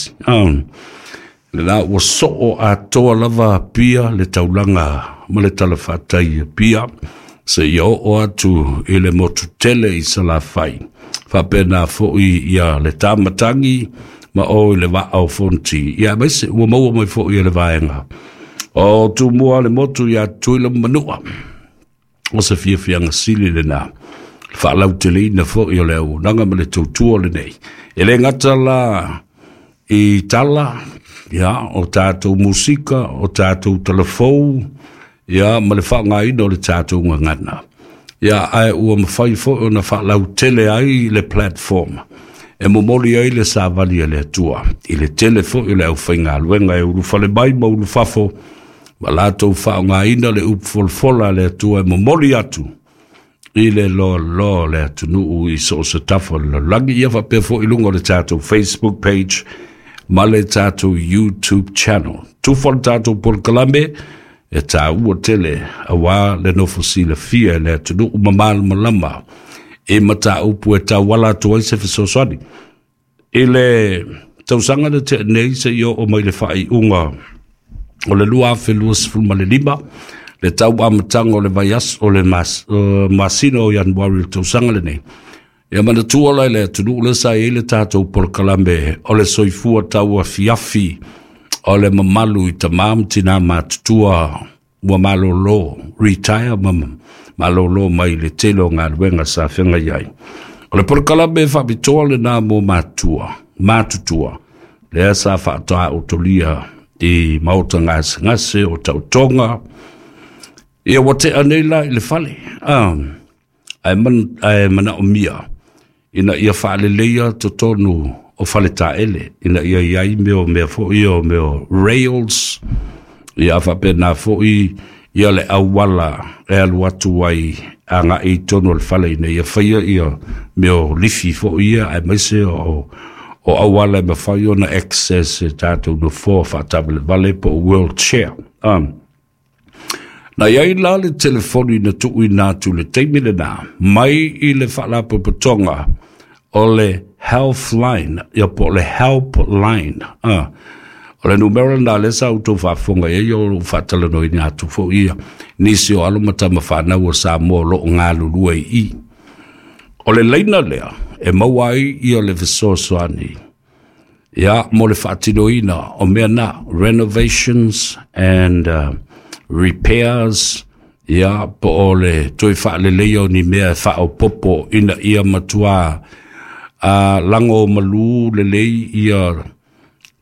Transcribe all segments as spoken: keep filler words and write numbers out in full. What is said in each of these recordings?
tasi. Um, le la ua soo atoa lava Apia le taulaga ma le talafatai i Apia seia oo atu i le motu tele i Salafai. Faapena foi ia le tamatagi ma o i le vaa o Fonoti. Ia aemaise ua maua mai foi e le vaega o Tumua le motu ia Tutuila ma Manua. O se fiafiaga sili lena. Le faalauteleina foi o le auaunaga ma le tautua lenei. E le gata la i tala, ia, o tatou musika, o tatou talafou, ia, ma le faaaogaina o le tatou gagana. Ia, ae ua mafai foi ona faalautele ai le platform e momoli ai le savali a le Atua i le tele foi o le aufaigaluega e ulufale mai ma ulufafo ma latou faaaogaina le upu folafola a le Atua e momoli atu i le loaloa o le atunuu i so o se tafa o le lalolagi. Ia faapea foi i luga o le tatou Facebook page ma le tatou YouTube channel. Tufa le tatou polokalame e taua tele auā le nofo silafia e le atunuu ma malamalama i mataupu e tauala atu ai se fesoasoani. I le tausaga na tea nei seia oo mai le faaiuga o le lua afe luasefulu ma le lima, le tau amataga o le vaiaso o le mas, uh, masina o Ianuari o le tausaga lenei. Ia manatua la i le atunuu lea sa i ai le tatou polokalame o le soifua tauafiafi o le mamalu i tamā ma tinā matutua ua malolo, retire ma malolo mai le tele o galuega sa feagai ai. O le polokalame faapitoa lena mo matua, matutua, lea sa faataotolia i maota gasegase o tautoga. Ia ua tea nei la i le fale, ah, ae, man, ae manaomia ina ia faaleleia totonu o faletaele, ina ia i ai mea o mea foi o mea o rails, ia faapena foi ia le auala e alu atu ai agai i totonu o le fale ina ia faia ia mea o lifi foi ia, aemaise o o auala e mafai ona access e tatou nofoa faatavalevale po o wheelchair. Um, na i ai la le telefoni na tuuina atu le taimi lena mai i le faalapotopotoga o le Healthline, ia po o le Helpline. Ah, o le numera lena lea sa outou faafofoga i ai o lou faatalanoaina atu foi ia nisi o alo ma tama fanau o Samoa o loo galulue i i. O le laina lea e maua ai ia le fesoasoani ia mo le faatinoina o mea na renovations and uh, repairs, ia po o le toe faaleleia o ni mea e faaopopo ina ia matua a lago malu lelei ia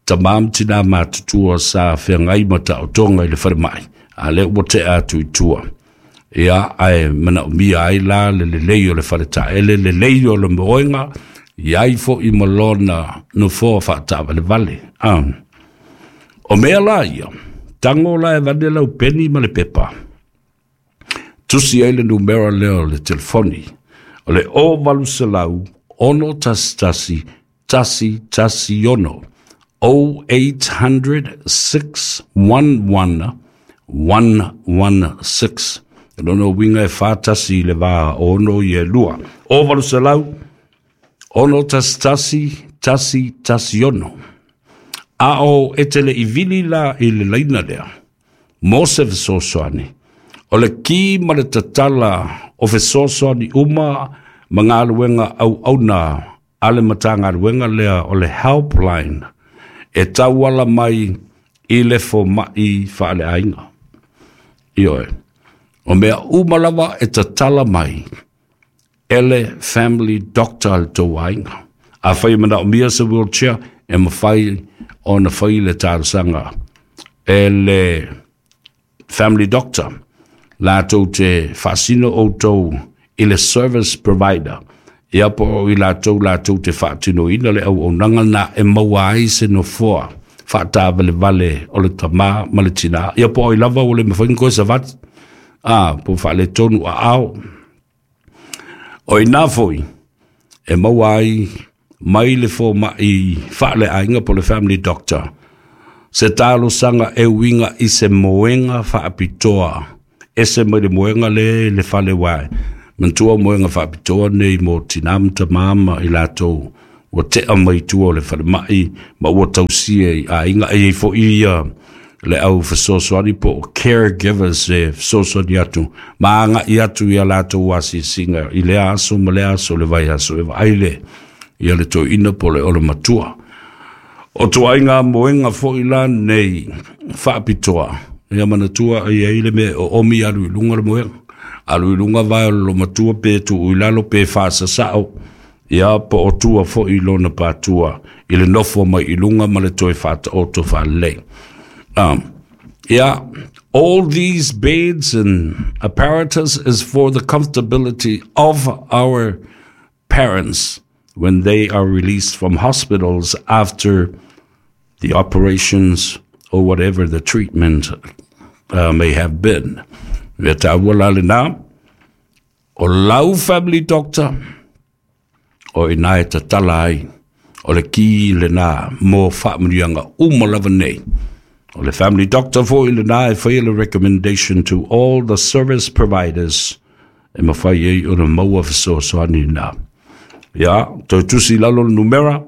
tamā ma tinā matutua sa feagai ma taotoga i le falemai a lea ua tea atu i tua. Ia ae manaomia ai la le lelei o le faletaele, lelei o le moega, i ai foi ma lona nofoa faataavalevale. Ah. O mea la ia, tago la e vane lau peni ma le pepa. Tusi ai le numera lea o le telefoni. O le o valu selau, ono tasi tasi, tasi tasi ono. zero eight hundred six one one one one six. O lona uiga e fa tasi i le va ono i e lua. O valu selau, ono tasi tasi, tasi tasi ono. A o e te le i vili la i le laina lea, mo se fesoasoani. O le ki ma le tatala o fesoasoani uma ma galuega auauna a le Matagaluega lea o le Helpline e tauala mai i le fomai faaleaiga. Ioe. O mea uma lava e tatala mai e le family doctor a le tou aiga. Afai e manaomia se wheelchair, e mafai ona fai le talosaga e le family doctor latou te faasino outou i le service provider, ia po o i latou latou te faatinoina le auaunaga na e maua ai se nofoa faatavalevale o le tamā ma le tinā, ia po o i lava ua le mafai ona koe savali a po faaletonu aao. O ina foi e maua ai mai le fomai faaleaiga po le family doctor se talosaga e uiga i se moega faapitoa ese mai le moega le le fale wae. Manatua moega faapitoa nei mo tinā ma tamā ma i latou Ua tea mai tua o le falemai ma ua tausia i aiga e i fo'i ia le au fesoasoani po o caregivers e fesoasoani atu ma aga'i atu ia latou asiasiga i lea aso ma lea aso le vaiaso e vaai le ia le toeaina po o le olomatua. O tuaiga moega fo'i la nei faapitoa, ia manatua e i ai le mea e oomi alu i luga le moega, alu i luga vae o le lomatua pe tuu i lalo pe faasasao, ia po o tua fo'i lona patua i le nofo mai i luga ma le toe faataoto faalelei. Um, yeah, all these beds and apparatus is for the comfortability of our parents when they are released from hospitals after the operations or whatever the treatment uh, may have been. Ia taua la lena, o lau family doctor, o ina e tatala ai, o le ki lena mo faamanuiaga uma lava nei. O le family doctor fo'i lena e faia le recommendation to all the service providers e mafai ai ona maua fesoasoani na. Ia, toe tusi i lalo le numera,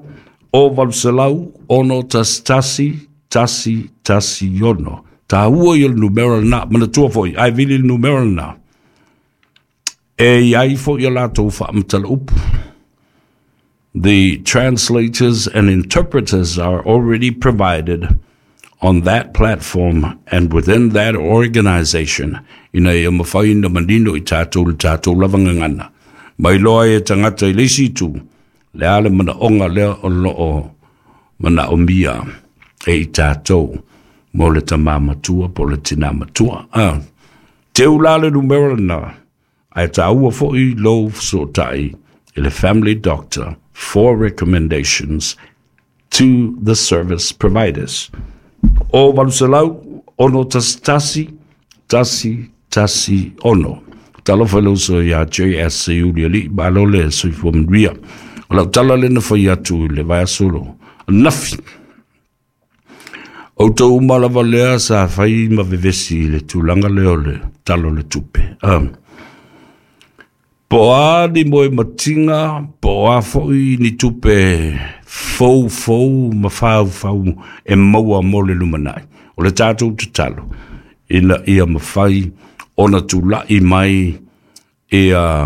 o valu selau, ono tasi tasi, tasi tasi ono. Taua ia le numera lena, manatua fo'i, ae vili le numera lena. E i ai fo'i a latou faamatala upu. The translators and interpreters are already provided on that platform and within that organization ina ia mafai ona manino i tatou le tatou lava gagana. Mai loa e tagata i le isi itu, le a le manaoga lea o loo manaomia e i tatou mo le tamā matua po le tinā matua. Ah, teu la le numera lena, ae taua fo'i lou fesootai i le family doctor for recommendations to the service providers. O valu selau, ono tasi tasi, tasi tasi ono. Talofa i le uso ia J S Seiuli alii, malo le soifua manuia. O lau tala lena fai atu i le vaiaso lo anafi. Outou uma lava lea sa fai ma vevesi i le tulaga lea o le tala o le tupe. Um, po o a ni moe matiga, po o a fo'i ni tupe fou fou ma faufau e maua mo le lumanai. O le tatou tatalo, ina ia mafai ona tula'i mai ia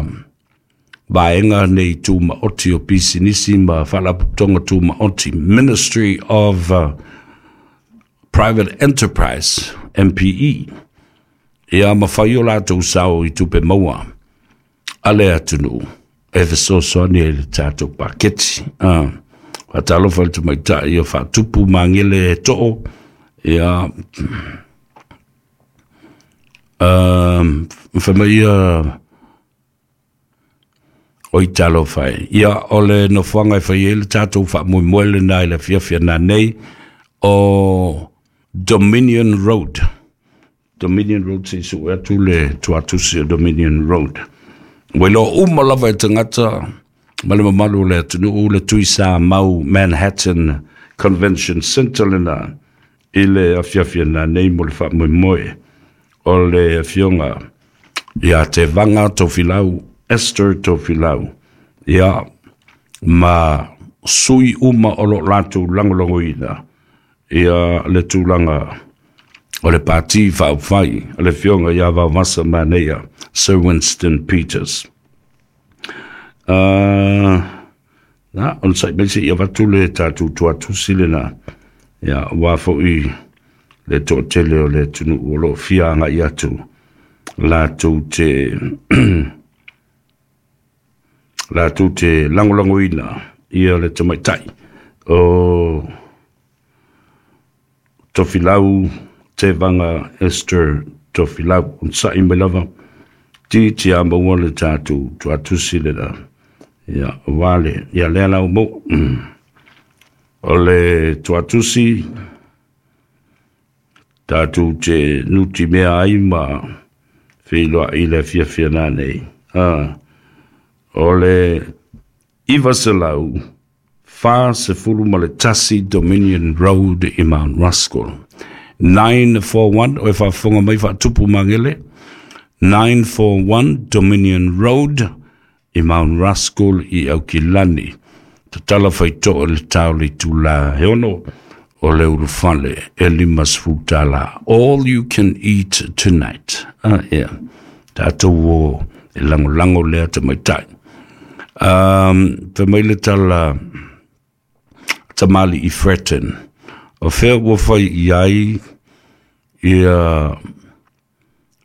vaega nei tumaoti o pisinisi ma faalapotopotoga tumaoti, Ministry of uh, Private Enterprise, M P E. Ia mafai o latou sao i tupe maua a le atunuu e fesoasoani ai le tatou paketi. Ah, faatalofa i le tamaitai o faatupu magele e too. Ia, um, fai o i talofa e. Ia, o le nofoaga e fai ai le tatou faamoemoe lena i le afiafi ana nei o Dominion Road. Dominion Road se sue atu le tuatusi o Dominion Road. Ua iloa uma lava e tagata ma le mamalu o le atunuu le tui sa mau Manhattan Convention Center lena i le afiafi ana nei mo le faamoemoe o le afioga ia Tevaga Tofilau, Esther Tofilau, ia ma sui uma o lo latou lagolagoina ia le tulaga o le pati faaufai o le afioga ia Vaovasa Manaia Sir Winston Peters. Uh, na, ona sa'i mai seia avatu le tatou tuatusi lena, ia aua fo'i le toatele o le atunuu o loo fia aga'i atu latou te latou te lagolagoina ia le tamaitai o Tofilau Tevaga Esther Tofilau. Ona sa'i mai lava ti tia maua le tatou tuatusi lena, ia aua le ia lea lau maua o le tuatusi tatou te nutimea ai ma feiloa'i i le afiafi ana nei. Ah, o le iva selau fa sefulu ma le tasi Dominion Road i Mount Roskill. nine four one, o e faafofoga mai faatupu magele, nine four one Dominion Road i Mount Roskill i Aukilani. Tatala faitoa le tau le tula he ono o le ulufale e lima sefulu tālā. All you can eat tonight. Ah, yeah. Tātou o e langolango lea tamaitai. Um, te mai le tala tamali i Freton. O fea ua fai i ai ia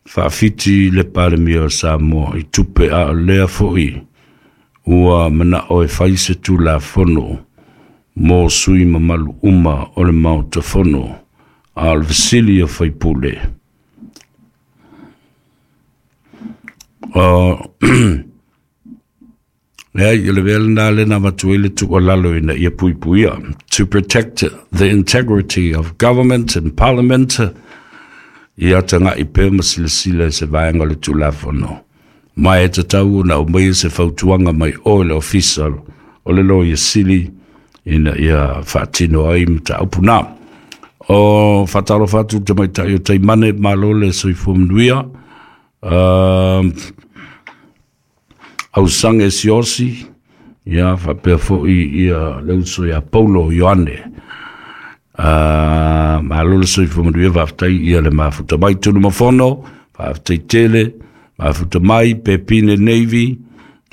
faafiti le Palemia o Samoa i tupe a o lea fo'i ua mana'o e fai se Tulafono mo sui mamalu uma o le Maota Fono a o le fesili o faipule. O leai o le mea lenā lena avatu ai le tuualalo ina ia puipuia to protect the integrity of government and parliament ia taga'i pea ma silasila i se vaega o le Tulafono ma e tatau ona aumaia se fautuaga mai oe le Ofisa o le Loia Sili ina ia faatino ai mataupu na. O faatalofa atu le tamaitai o Taimane, malo le soifua manuia. Uh, ausaga e siosi, ia faapea fo'i ia le uso ia Paulo Ioane. Uh, malo le soifua manuia, faafetai ia le mafuta mai Tunumafono, faafetai tele, mafuta mai Pepine Navy,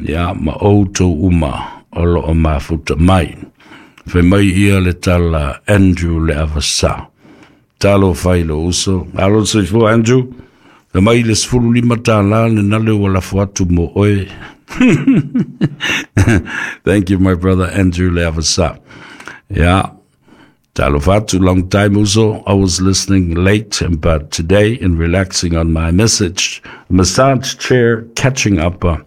ia ma outou uma o loo mafuta mai. Fai mai ia le tala Andrew le Avasa. Talo fai lo uso. Malo le soifua Andrew. Fai mai le sefulu lima tālā le nale ua lafo atu mo oe. Thank you my brother Andrew le Avasa. Yeah. Talo fatu, long time uso. I was listening late, but today in relaxing on my message, massage chair, catching up. Uh,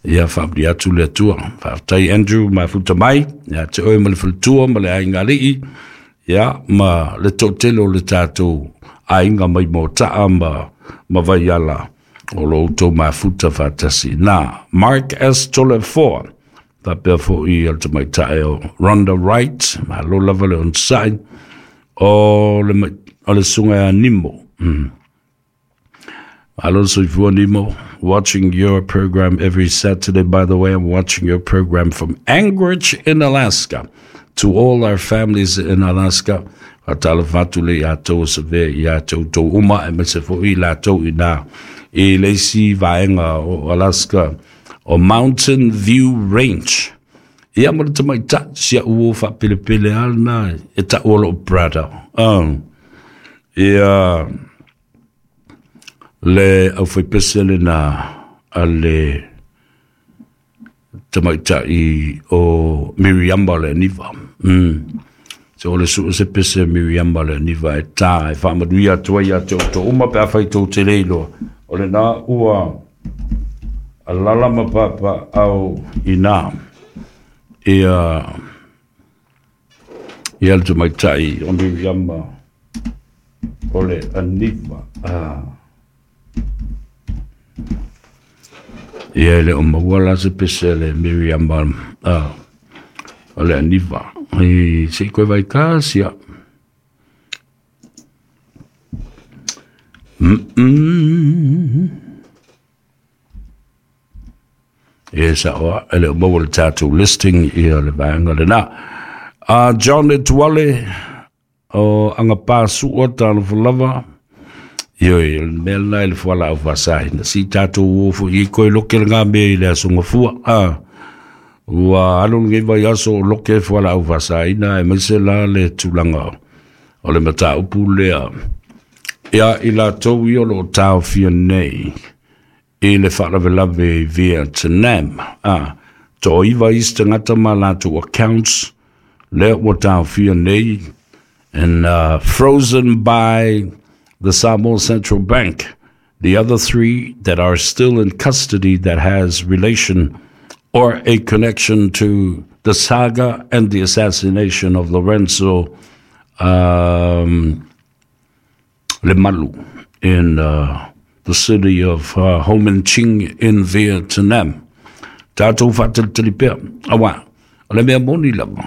ia faamanuia atu le Atua. Faafetai Andrew mafuta mai, ia te oe ma le faletua ma le aiga alii, ia ma le toatele o le tatou aiga mai mota'a ma, ma vaiala o lo outou mafuta faatasi. Na, Mark S. Tolefoa, faapea fo'i o le tamaitai o Rhonda Wright, malo lava le onosai, o le, o le suga ia Nimo. Mm. Malo le soifua Nimo, watching your program every Saturday. By the way, I'm watching your program from Anchorage in Alaska. To all our families in Alaska, faatalofa atu le ia tou savea ia tou tou uma e maise fo'i latou i nā i le isi vaega o Alaska o Mountain View Range. Ia ma le tamaitai si a'u o faapelepele a lenā e ta'u o lo'u brother. Oh. Ia le aufaipese lenā a le tamaitai o Miriama le Aniva. Mm. So o le suu se pese Miriama le Aniva e tā e faamanuia atu ai ia te outou uma pe afai tou te le iloa. O lenā ua alala ma papa au inā ia ia le tamaitai o Miriama o le Aniva. Ah. Ia e le o maua la se pese le Miriama ah, o le Aniva. I se i koe vai kasi a. Mm-mm. Ia sa oa, e le o maua le tatou listing ia le vaega lenā. Uh, John Etuale o Agapā Sua talofa lava. Ioe, o le mea lenā i le fualaau faasaina. Si tatou o fo'i i koe loke le ngā mea i le aso gafua. Ah, ua alu lenei vaiaso o loke fualaau faasaina e maise la le tulaga o le mataupu lea. Ia i latou ia o loo taofia nei i le faalavelave i Vietnam. Ah, toaiva isi tagata ma latou accounts lea ua taofia nei and uh, frozen by the Samoa Central Bank. The other three that are still in custody that has relation or a connection to the saga and the assassination of Lorenzo um, Lemalu in uh, the city of uh, Ho Minh Chinh in Vietnam. Tatou faatalitali pea. Auā, o le mea moni lava.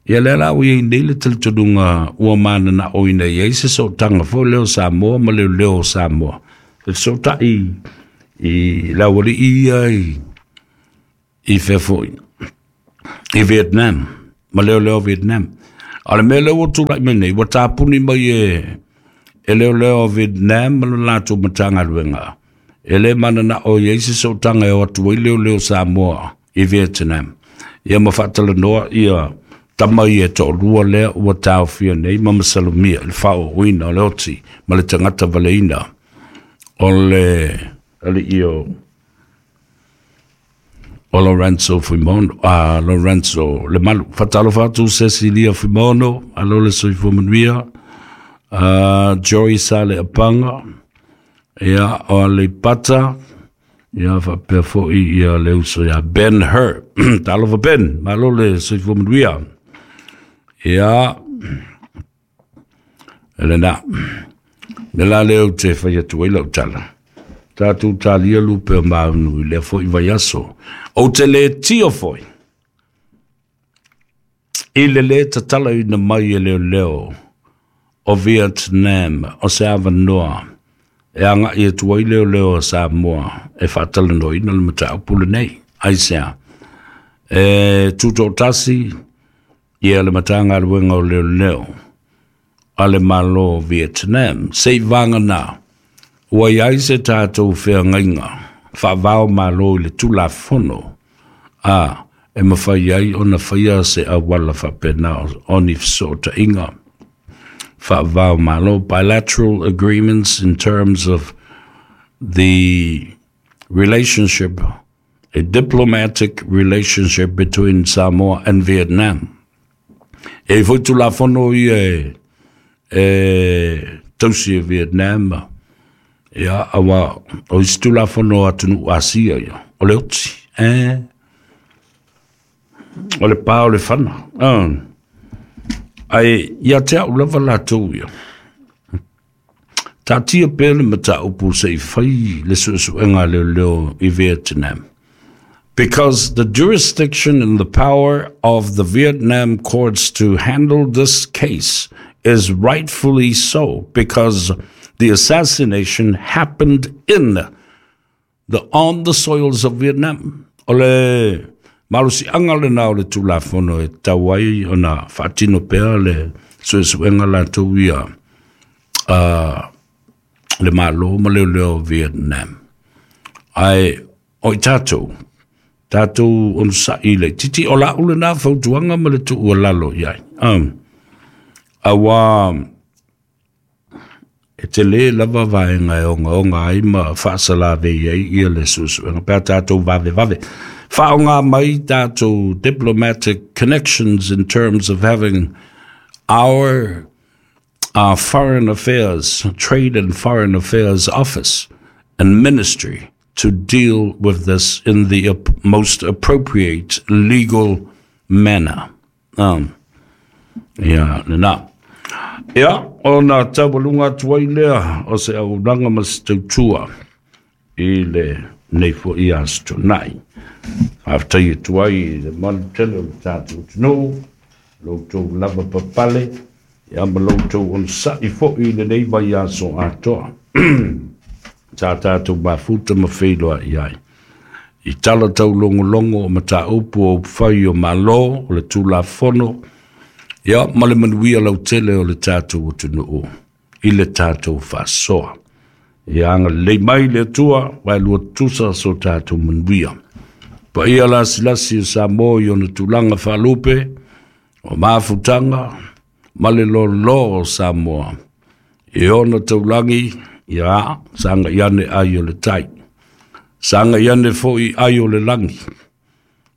Ia lea la ua iai nei le talitonuga ua manana'oina i ai se sootaga foi lea o Samoa ma leoleo o Samoa. E fesoota'i i le auali'i ia i, i fea fo'i. I Vietnam, ma leoleo Vietnam. A le mea lea ua tulai mai nei, ua tapuni mai e, e leoleo Vietnam ma le latou Matagaluega. E le mananao i ai se sootaga e o atu ai leoleo Samoa i Vietnam. Ia ma faatalanoa ia tama ia e toalua lea ua taofia nei ma masalomia i le faaooina o le oti ma le tagata valeina o le alii o o Lorenzo Fuimono, a Lorenzo Lemalu. Faatalofa atu Cecilia Fuimono, alo le soifua manuia, uh, Joy Sale Apanga, ia o Aleipata, ia faapea foi ia le uso ia Ben Hur. Talofa Ben, malo le soifua manuia. Ia, elena, me la leo te whai atu ai lau tala. Tātou talia lupe o maunu i lea foi vaiaso. O te le tio foi. I le le tatala ina mai e leo leo o Vietnam o se awanoa. E anga i atu ai leo leo o Samoa e whaatalanoina le mataupu lenei. Aisea. E tutoatasi ia le Matagaluega o Leoleo a le Malo o Vietnam. Sei vāngana ua iai se tātou feagaiga faavao malo i le Tulafono a e mafai ai ona faia se auala faapena o ni fesootaiga faavao malo, bilateral agreements in terms of the relationship, a diplomatic relationship between Samoa and Vietnam. E foi Tulafono ia e, e tausi e Vietnam, ia aua o isi Tulafono atunuu Asia ia, o le oti, eh, o le pā o le fana. Ah. Ae ia te au lava latou ia. Taatia pea le mataupu se i fai le suesuega a leoleo i Vietnam. Because the jurisdiction and the power of the Vietnam courts to handle this case is rightfully so, because the assassination happened in the on the soils of Vietnam. O le malosiaga lena o le Tulafono e tau ai ona faatino pea le suesuega latou ia uh, le Malo ma leoleo Vietnam. Ae o i tatou, tatou onosa'i le titi o lau lena fautuaga ma le tuualalo i ai. Um, auā e telē lava vaega e ogaoga ai ma faasalavei ai ia le suesuega pe a tatou vavevave faaaogā mai tatou diplomatic connections in terms of having our uh, foreign affairs, trade and foreign affairs office and ministry to deal with this in the ap- most appropriate legal manner. Um, ia, lena. Ia, ona taualuga atu ai lea o se auaunaga ma se tautua i lenei foi aso tuanai. Faafetai atu ai i le malu tele o le tatou atunuu, lo outou lava papale, ia ma lo outou onosa'i foi i lenei vaiaso atoa. Sa tatou mafuta ma feiloai ai i tala taulogologo o mataupu o upufai o Malo, o le Tulafono, ia ma le manuia lautele o le tatou atunuu i le tatou faasoa. Ia agalelei mai le Atua, vaelua tutusa so tatou manuia. Paia lasilasi o Samoa i ona tulaga faalupe, o mafutaga ma le lōlō o Samoa. I ona taulagi, ia sagai ane ai o le tai. Sagai ane foi ai o le lagi.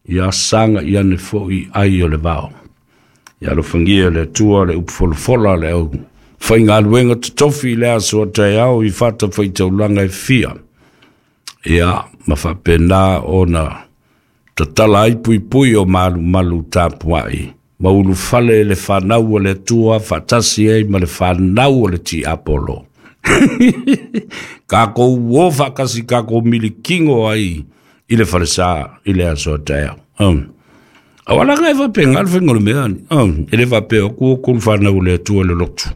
Ia sagai ane foi ai o le vao. Ia alofagia e le Atua le upufolafola le au faigaluega totofi i le aso a taeao i fatafaitaulaga e fia. Ia ma faapena ona tatala ai puipui o malumalu tapuai ma ulufale le fanau o le Atua faatasi ai ma le fanau o le Tiapolo. Kākou o faakasi kākou milikigo ai i le falesa i le aso a taeao. Um. Auala e faapega le faiga o le mea ni. Um. E le faapea o ku o ku le fanau o le Atua le lotu.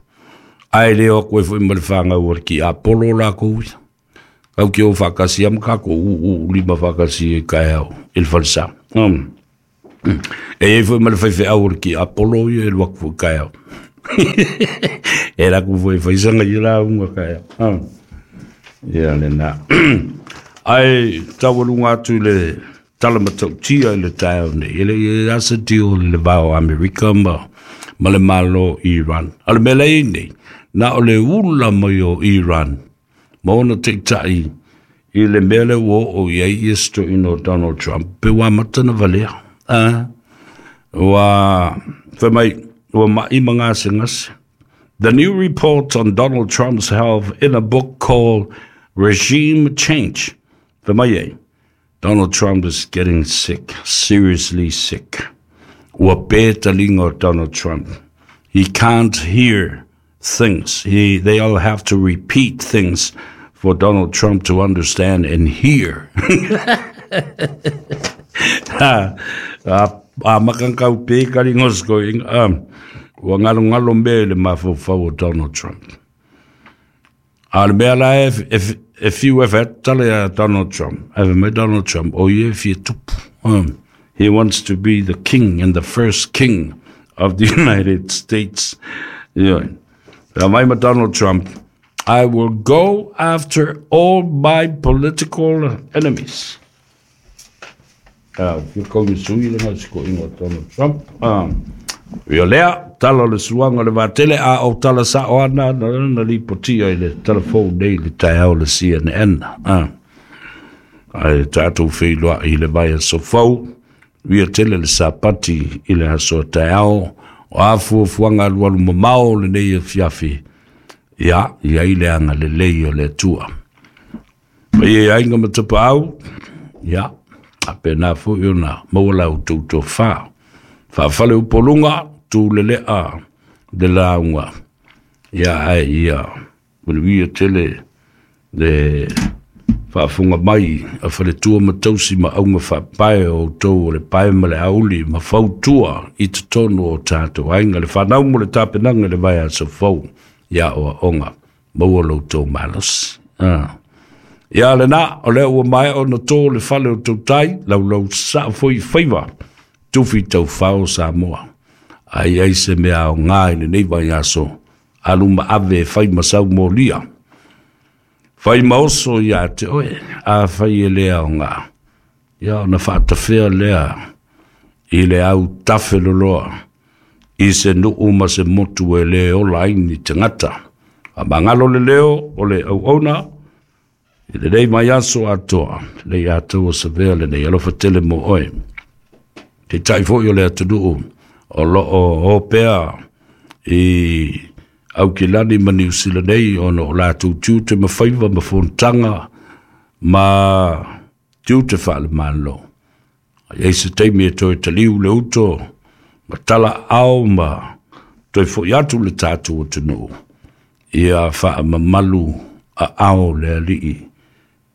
Ae le o atu ai foi ma le fanau o le Tiapolo lakou ia. Kau ke o faakasi ama kākou uu lima faakasi e kaeao i le falesa. Um. E iai foi ma le faifeau o le kiapolo ia e alu atu foi taeao. E alu atu foi e fai sana ia lauga taeao. Ia lena. Ae taualuga atu i le tala matautia i le taeao nei, e le i asa deal i le va o Amerika ma, ma le Malo Iran. A le mea la i ai nei, na o le ula mai o Iran ma ona taitai i le mea lea ua oo i ai ia se toeaina o Donald Trump, pe ua amata ona valea. A, ua fai mai, ua mai ma gasegase. The new report on Donald Trump's health in a book called Regime Change. Fai mai ai, Donald Trump is getting sick, seriously sick. Ua pe taliga o Donald Trump. He can't hear things. He, they all have to repeat things for Donald Trump to understand and hear. Ha, a, a makankau pe karingos ko inga, um, ua ngalongalo mea i le mafaufau o Donald Trump. A le mea la e, e, e fiu e fai tala ia Donald Trump. Ae fai mai Donald Trump, o ia e fia tupu. Um, he wants to be the king and the first king of the United States. Yeah. Fai mai ma Donald Trump, I will go after all my political enemies. Ah, fia kau ni sui le ngā siko inga Donald Trump. Um, ia lea, tala o le suaga o le vatele, a o tala sao ana, na na lipotia i le telefone nei le taeao le C N N. Ah. Ae tatou feiloai i le vaiaso fou, uia tele le sapati i le aso taeao, o a fuafuaga alualu mamao lenei afiafi, ia, i ai le agalelei o le Atua. Paia i aiga ma tapaau, ia, a pena foi ona maua la outou tofā. Faafale upoluga, tulelea le lauga, ia ae ia manuia tele le faafofoga mai a faletua ma tausi ma auga faapae o outou o le pae ma le auli ma fautua i totonu o tatou aiga, le fanau mo le tapenaga i le vaiaso fou, ia oaoga maua lo outou malosi. Ah. Ia lena, o lea ua maea ona tō le fale o tautai, laulau saa foi faiva, tufi taufao Samoa. Ai ai se mea aoga i lenei vaiaso, alu ma ave e fai ma sau molia. Fai ma oso ia te oe, a fai e le aoga. Ia ona faatafea lea i le au tafe loloa, i se nuu ma se motu e le ola ai ni tagata. A mangalo le leo o le auauna, i lenei vaiaso atoa, lei atoa savea lenei alofa tele mo oe. Te tai foi o le atunuu o loo opea i Aukilani ma Niu Sila nei ona o latou tiute ma faiva ma fonotaga ma tiute faale-Malo. Ai ai se taimi e toe taliu le uto ma tala ao ma toe foi atu le tatou atunuu ia faamamalu aao le alii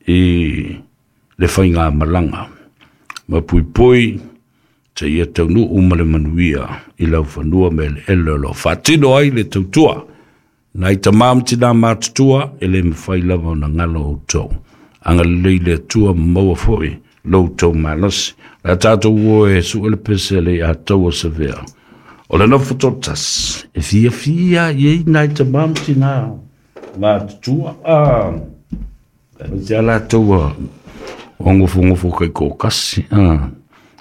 i le faigamalaga ma puipui te ia taunuu ma le manuia i laufanua ma eleele o loo faatino ai le tautua. Nai tamā ma tinā matutua e le mafai lava ona galo outou. Agalelei le Atua ma maua foi lo outou malosi. O le a tatou o e sue le pese le ataua savea. O le nofo totasi e fiafia i ai nai tamā ma tinā matutua. Ah, e te ala taua o ngofongofo kai kokasi. Ah.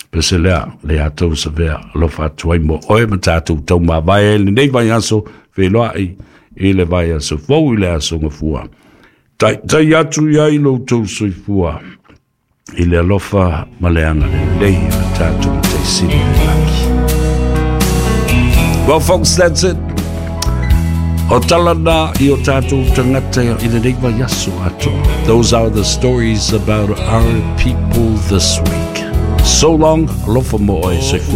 Pese lea, le atou savea, alofa atu ai mo oe ma tatou taumavae lenei vaiaso, feiloai i le vaiaso fou i le aso gafua. Tai, tai atu iai lo outou soifua i le alofa ma le agalelei o le tatou Mataisili i le lagi. Well folks, that's it. O tala na i o tatou tagata i lenei vaiaso atoa. Those are the stories about our people this week. So long, alofa mo oe soifua.